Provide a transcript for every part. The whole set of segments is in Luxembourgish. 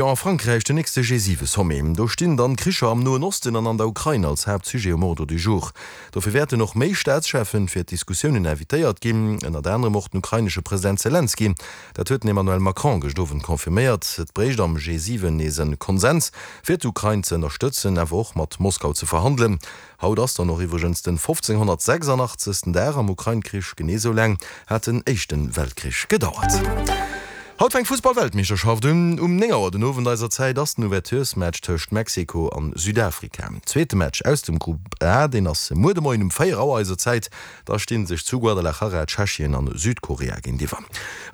Jo, a Frankräich den nächste G7-Sommet. Do stinn dann d'Kricher am Noen Osten an an der Ukrain als Haaptsujet um Ordre du jour. Dofir wäerten och méi Staatscheffen fir d'Diskussiounen invitéiert ginn, ënnert anerem och den ukrainesche President Selenskyj. Dat huet den Emmanuel Macron gëscht Owend confirméiert. Et bréicht am G7 nees en Konsens, fir d'Ukrain ze ënnerstëtzen, awer och mat Moskau ze verhandelen. Haut ass dann och iwwregens den 1586. Dag am Ukrain-Krich, genee sou laang hat den éischte Weltkrich gedauert. Haut fänkt d'Fussball-Weltmeeschterschaft un. Um 9 Auer den Owend eiser Zäit ass den Ouverturesmatch tëscht Mexiko an Südafrika. Zweete Match aus dem Grupp A, deen ass muer de Moien um 4 Auer eiser Zäit. Da sti sech zu Guadalajara Tschechien an Südkorea géintiwwer.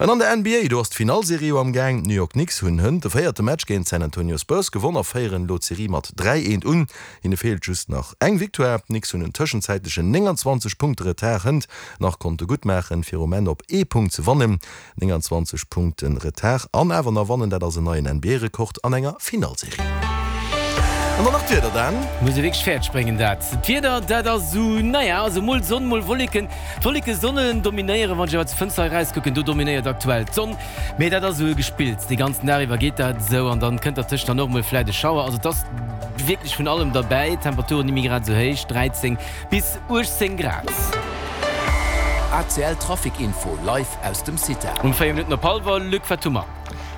An an der NBA, do ass d'Finallserie jo am Gaang. D'New York Knicks hunn hënt de véierte Match géint d'San Antonio Spurs gewonn a féieren elo d'Serie mat 3, 1 un. Hinne feelt just nach eng Victoire. D'Knicks hunn en tëschenzäitlechen 29 Punkte Retard hënt nach konnte gutt maachen, fir um Enn op ee Punkt ze wannen. 29 Punkte Retard an awer nach wannen, dat ass en neien NBA-Rekord an enger Finallserie. An dann nach d'Wieder, Dan. Muss ee wierklech fäerdeg bréngen dat. D'Wieder, dat ass esou, naja, also mol Sonn, mol Wolleken. D'Wolleke solle dominéieren. Wann ech awer zur Fënster erauskucken, do dominéiert aktuell d'Sonn. Mee dat ass esou e Gespills, dee ganzen Dag iwwer geet dat esou an dann kënnt dertëscht dann och mol vläit e Schauer. Also et ass wierklech vun allem derbäi. D'Temperaturen ni méi grad esou héich, 13 bis 18 Grad. ACL Trafic Info live aus dem CITA. Um 4 Minutten op hallwer, Luc, wat hu mer?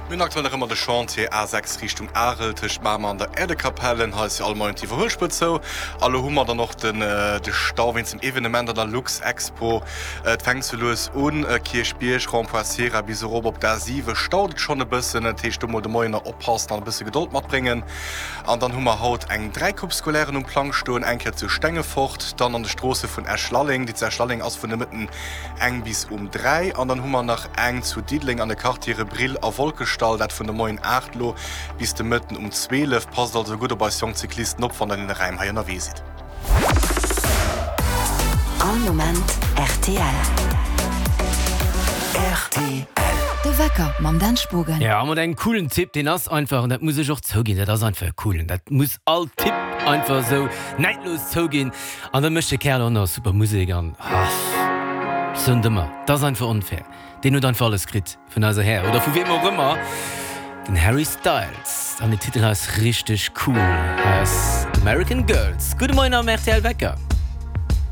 Mir hunn aktuell nach ëmmer de Chantier A6 Richtung Arel tëscht Mamer an der Äerdekapelle. Hei ass jo all Moien d'Iwwerhuelspuer zou. A lo hu mer dann och den de Stau wéinst dem Evenement an der Luxexpo. Et fänkt sou lues un, Kierchbierg, Rond-point Sierra bis erop op d'A7 staut et schonn e bëssen. Dat heescht do mol de Moien nach oppassen an e bësse Gedold matbréngen. An dann hu mer haut eng 3 Coupe Scolairen um Plang stoen, eng Kéier zu Stengefort, dann an de Stroosse vun Esch-Lalleng, déi zu Esch-Lalleng ass vun de Mëtten eng bis um 3, an dann hu mer nach eng zu Diddeleng an de Quartiere Brill a Wolkeschdall, dat vun de Moien 8 lo bis de Mëtten um 12. Passt also gutt op eis jonk Cyclisten op, wann der an deene Räim hei ënnerwee sidd. All Moment rtl. Rtl. De Wecker mam Dan Spogen. Ja, mat engem coolen Typ, deen ass einfach, an dat muss ech och zouginn, dat ass einfach e coolen, dat muss all Typ einfach esou neidlos zouginn. An da mécht de Kerl och nach super Musek an, ah, ech soen et ëmmer, dat ass einfach onfair, deen huet einfach alles kritt. Vun eiser Här, oder vu wiem och ëmmer, den Harry Styles. An den Titel hei ass richteg cool, hei ass American Girls. Gudde Moien am rtl Wecker.